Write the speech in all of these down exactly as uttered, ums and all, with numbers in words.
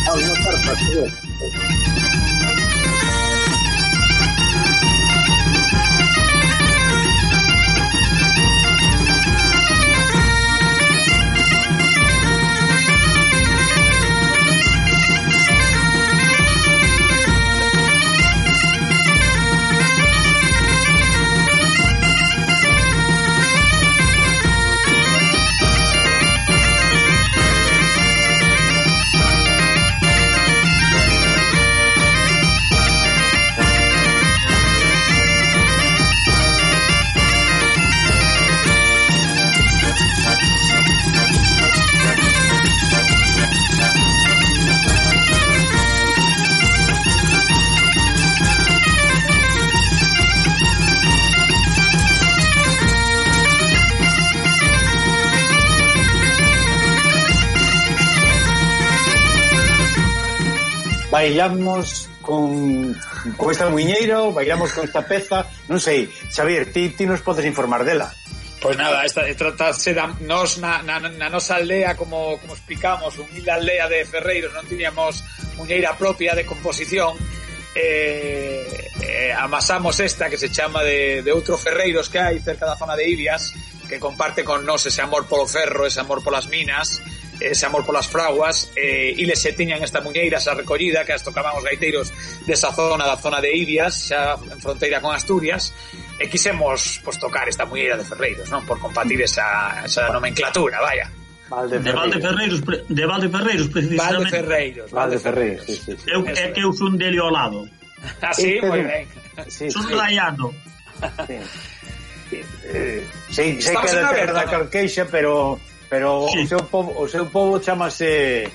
Vamos a estar para bailamos con, con esta muiñeira ou bailamos con esta peza, non sei, Xavier, ti, ti nos podes informar dela? Pois nada, esta tratase da nos na, na, na nosa aldea, como, como explicamos, humilde aldea de ferreiros, non tiñamos muiñeira propia de composición, eh, eh, amasamos esta que se chama de, de outros ferreiros que hai cerca da zona de Ibias, que comparte con nos ese amor polo ferro, ese amor polas minas, ese amor polas fraguas, eh, e les se tiñan esta muñeira, esa recollida que as tocaban os gaiteiros desa zona, da zona de Ibias, xa en fronteira con Asturias, e quisemos pues, tocar esta muñeira de ferreiros, non? Por compartir esa, esa nomenclatura, vaya. Valde de Valdeferreiros, de Valdeferreiros, precisamente. Valdeferreiros, Valdeferreiros, sí, sí, sí. Eu, é que eu son dele ao lado. Ah, sí, moi ben. Sí, son sí. raiano. Sí, sí, eh, sí, sei que é da terra da Carqueixa, pero... Pero sí. o seu povo, o seu povo chamase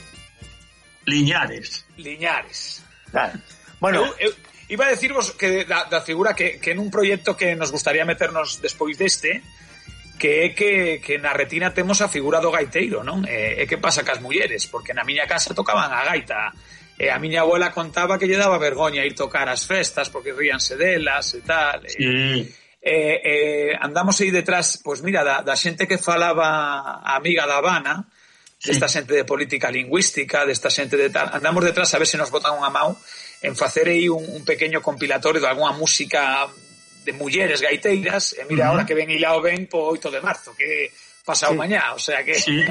Liñares. Liñares. Claro. Bueno, eu, eu iba a decirvos que da, da figura que, que en un proxecto que nos gustaría meternos despois deste, que é que, que na retina temos a figura do gaiteiro, non? E, e que pasa cas mulleres? Porque na miña casa tocaban a gaita, e a miña abuela contaba que lle daba vergoña ir tocar as festas porque ríanse delas e tal. Sí. E, Eh, eh, andamos aí detrás, pois mira, da, da xente que falaba a amiga da Habana, sí. Desta xente de política lingüística, desta xente de tal, andamos detrás a ver se nos botan unha mão en facer aí un, un pequeño compilatorio de alguna música de mulleres gaiteiras, e mira, uh-huh. Ahora que ven hilao ben po oito de marzo, que pasado sí. Mañá, o sea que... Sí,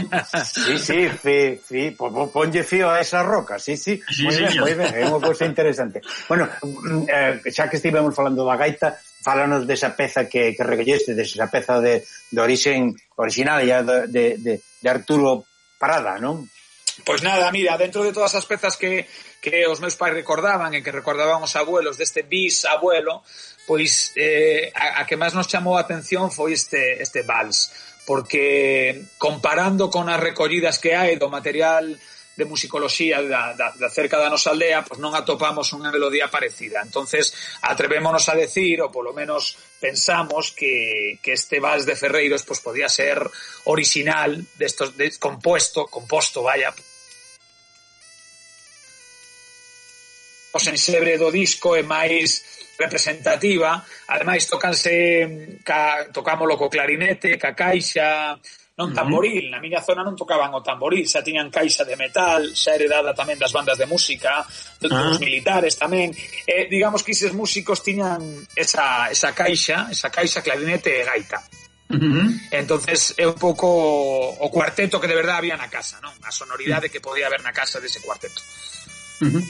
sí, sí, fi, fi, ponlle fío a esa roca, sí, sí, sí moi sí, ben, moi ben, é unha cousa interesante. Bueno, eh, xa que estivemos falando da gaita, fálanos desa peza que, que recolleste, desa peza de, de orixen original ya de, de, de, de Arturo Parada, non? Pois nada, mira, dentro de todas as pezas que, que os meus pais recordaban e que recordaban os abuelos deste bisabuelo, pois eh, a, a que máis nos chamou a atención foi este, este vals, porque comparando con as recollidas que hai do material de musicoloxía da, da, da cerca da nosa aldea, pois non atopamos unha melodía parecida. Entonces atrevémonos a decir, ou polo menos pensamos que, que este vals de Ferreiros pois podía ser original, destos, de, compuesto, composto, vaya, o sensebre do disco é máis representativa, ademais tocanse ca, tocámolo co clarinete, ca caixa, non tamboril, na miña zona non tocaban o tamboril, xa tiñan caixa de metal, xa heredada tamén das bandas de música, dos uh-huh. militares tamén, e digamos que eses músicos tiñan esa, esa caixa, esa caixa, clarinete e gaita. Uh-huh. Entonces é un pouco o cuarteto que de verdade había na casa, non? A sonoridade que podía haber na casa dese cuarteto. Uh-huh.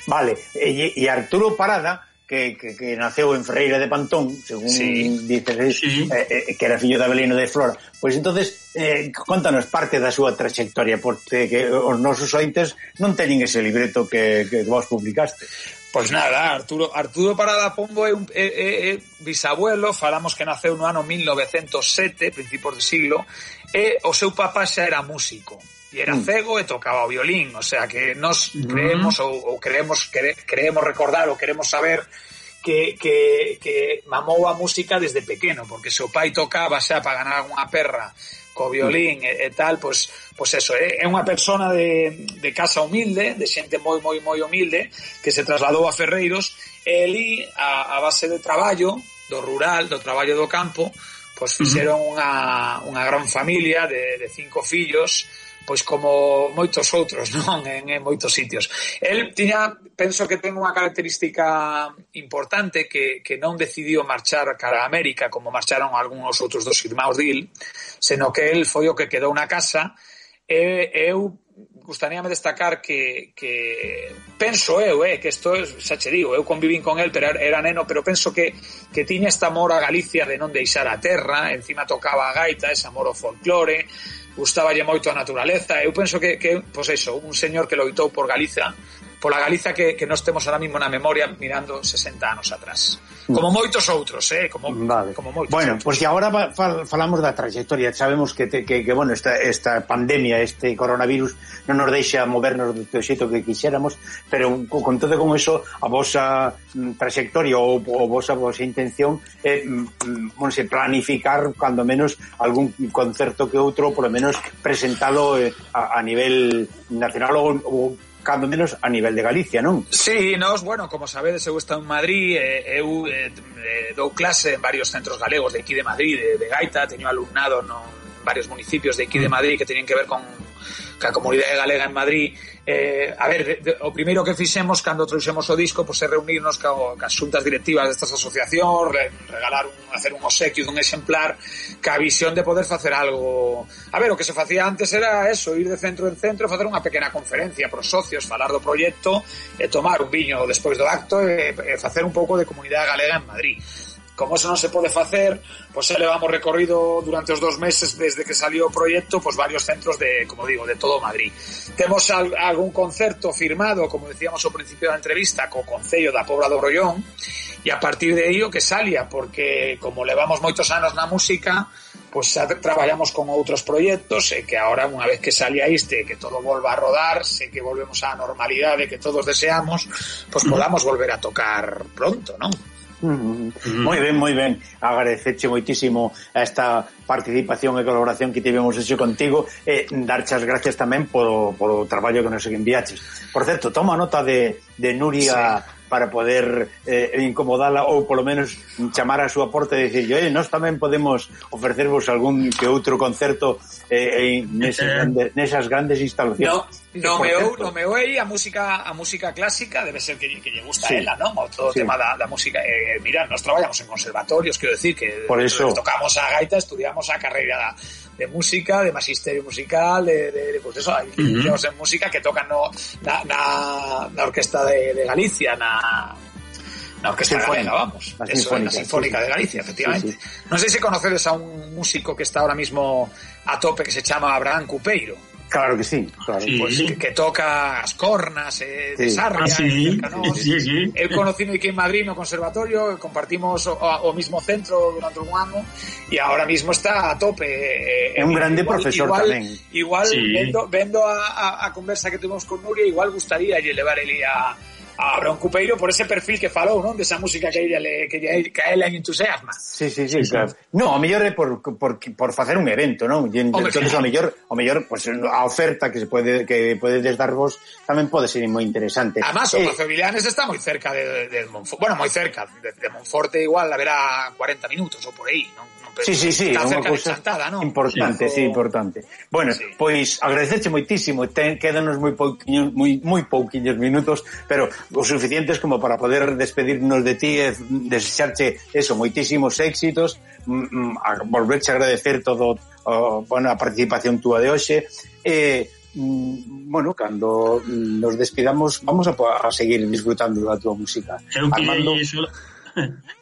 Vale, e, e Arturo Parada, que, que, que naceu en Ferreira de Pantón, según sí. dices, sí. eh, eh, que era fillo de Abelino de Flora. Pois entonces, eh, contanos parte da súa trayectoria, porque que os nosos ointes non teñen ese libreto que, que vos publicaste. Pois nada, Arturo, Arturo Parada Pombo é un é, é, é bisabuelo, falamos que naceu no ano mil novecentos sete, principios de siglo, e o seu papá xa era músico. E era cego e tocaba o violín, o sea que nos creemos ou, ou creemos cre, creemos recordar ou queremos saber que, que, que mamou a música desde pequeno, porque se o pai tocaba xa para ganar unha perra co violín e, e tal, pois, pois eso, é, é unha persona de, de casa humilde, de xente moi, moi, moi humilde, que se trasladou a Ferreiros, e ali, a, a base de traballo, do rural, do traballo do campo, pois fixeron unha, unha gran familia de, de cinco fillos, pois como moitos outros, non? En, en moitos sitios. El tiña, penso que ten unha característica importante que, que non decidiu marchar cara a América como marcharon algúns outros dos irmáns dil, senón que el foi o que quedou na casa. E eu gustaríame destacar que, que penso eu, eh, que isto xa che digo, eu convivín con el, pero era neno, pero penso que, que tiña esta amor a Galicia de non deixar a terra, encima tocaba a gaita, ese amor ao folclore, gustaballe moito a naturaleza. Eu penso que, que pois eso, un señor que loitou por Galiza, pola Galiza que, que nos temos ahora mismo na memoria mirando sesenta anos atrás. Como moitos outros, eh, como, vale. como moitos bueno, outros. Pois pues, agora fal, falamos da trayectoria. Sabemos que, te, que, que bueno, esta, esta pandemia, este coronavirus non nos deixa movernos do xeito que quixéramos, pero con todo con eso a vosa trayectoria ou a vosa, vosa intención é, bueno, se planificar cando menos algún concerto que outro, por lo menos presentalo eh, a, a nivel nacional ou, ou cando menos a nivel de Galicia, non? Sí, nos, bueno, como sabedes, eu estou en Madrid, eh, eu eh, dou clase en varios centros galegos de aquí de Madrid, de, de gaita, teño alumnado no varios municipios de aquí de Madrid que teñen que ver con a comunidade galega en Madrid. Eh, a ver, de, de, o primeiro que fixemos cando trouxemos o disco, pois, é reunirnos ca, cas xuntas directivas destas asociacións, re, regalar un, hacer un obsequio dun exemplar, ca visión de poder facer algo. A ver, o que se facía antes era eso, ir de centro en centro, facer unha pequena conferencia pros socios, falar do proxecto, e tomar un viño despois do acto e, e facer un pouco de comunidade galega en Madrid. Como eso non se pode facer, pois xa levamos recorrido durante os dos meses desde que salió o proxecto, pois varios centros de, como digo, de todo Madrid. Temos al, algún concerto firmado, como decíamos ao principio da entrevista, co Concello da Pobra do Brollón, e a partir de aí o que salia, porque como levamos moitos anos na música, pois xa traballamos con outros proxectos, e que agora, unha vez que salia este, que todo volva a rodar, sei que volvemos á normalidade que todos deseamos, pois podamos volver a tocar pronto, non? Mm-hmm. Moi ben, moi ben. Agradecerche moitísimo esta participación e colaboración que tivemos hecho contigo e darche as gracias tamén polo, polo traballo que nos enviaches. Por certo, toma nota de, de Nuria, sí, para poder eh, incomodala ou polo menos chamar a súa porta e dicir, oye, nós tamén podemos ofrecervos algún que outro concerto eh, nesas, grandes, nesas grandes instalacións. No, no meu, no meu aí a música a música clásica debe ser que, que lle gusta, sí, a ela, non? O todo o sí, tema da, da música. Eh, mira, nós traballamos en conservatorios, quero decir que por eso tocamos a gaita, estudiamos a carreira de música, de magisterio musical, de, de, de pues eso, hay uh-huh. en música que tocan no, na, na, na orquesta de, de Galicia, na, na orquesta galega, vamos. La eso, sinfónica, la sinfónica sí, de Galicia, efectivamente. Sí, sí. Non sei se conocedes a un músico que está ahora mismo a tope que se chama Abraham Cupeiro. Claro que sí, claro. Sí. Pues que, que toca as cornas eh, de sí. Sarria, ah, sí. cercanos. Sí, sí. El conocido aquí en Madrid no conservatorio, compartimos o, o mismo centro durante un año e ahora mismo está a tope. É eh, un grande igual, profesor igual, tamén. Igual, sí. vendo, vendo a, a, a conversa que tuvimos con Nuria, igual gustaría llevar ele a a Abraham Cupeiro por ese perfil que falou, non? Desa música que ella le, que, ella, que a ela entusiasma. Sí, sí, sí, claro. No, a mellor é por, por, por facer un evento, non? E entonces, claro, a mellor, a mellor, pues, a oferta que se pode, que podedes darvos tamén pode ser moi interesante. Además, o eh, Pazo Villanes está moi cerca de, de, de Monforte, bueno, moi cerca, de, de Monforte igual haberá cuarenta minutos ou por aí, non? Sí, sí, sí, está unha cerca cousa de Chantada, non? Importante, sí, importante. Bueno, sí, pois agradecerche moitísimo, ten, quédanos moi pouquiños, moi, moi pouquiños minutos, pero os suficientes como para poder despedirnos de ti e desexarche eso, moitísimos éxitos, mm, a volverche a agradecer todo o, bueno, a participación túa de hoxe e mm, bueno, cando nos despidamos vamos a, a seguir disfrutando da túa música. Eu, Armando... Iso,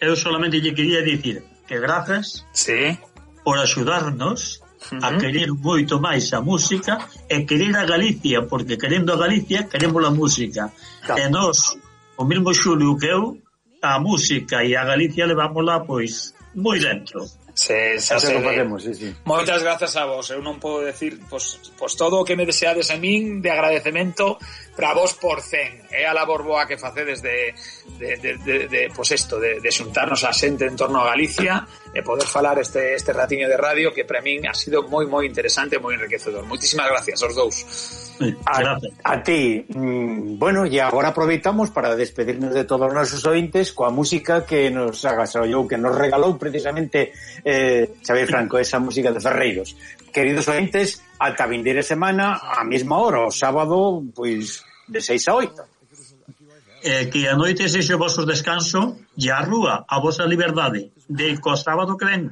eu solamente lle quería dicir que grazas, sí, por axudarnos uh-huh. a querer moito máis a música e querer a Galicia, porque querendo a Galicia queremos a música, claro. E nós, o mesmo Xulio que eu, a música e a Galicia levámola pois moi dentro. Se, se, se, podemos, sí, sí. Moitas grazas a vos. Eu non podo decir pois, pois todo o que me deseades a min de agradecemento para vos por cen. É a labor boa que facedes de, de, de, de, de pois isto, de, de xuntarnos a xente en torno a Galicia e poder falar este, este ratiño de radio que para min ha sido moi, moi interesante e moi enriquecedor. Moitísimas gracias aos dous. A, a ti. Mm, bueno, e agora aproveitamos para despedirnos de todos os nosos ointes coa música que nos agasallou, que nos regalou precisamente eh, Xavier Franco, esa música de Ferreiros. Queridos ointes, ata a vindeira semana a mesma hora, o sábado, pois, de seis a oito. Eh, que a noite sexe o vosso descanso e a rúa, a vosa liberdade, de co sábado que ven.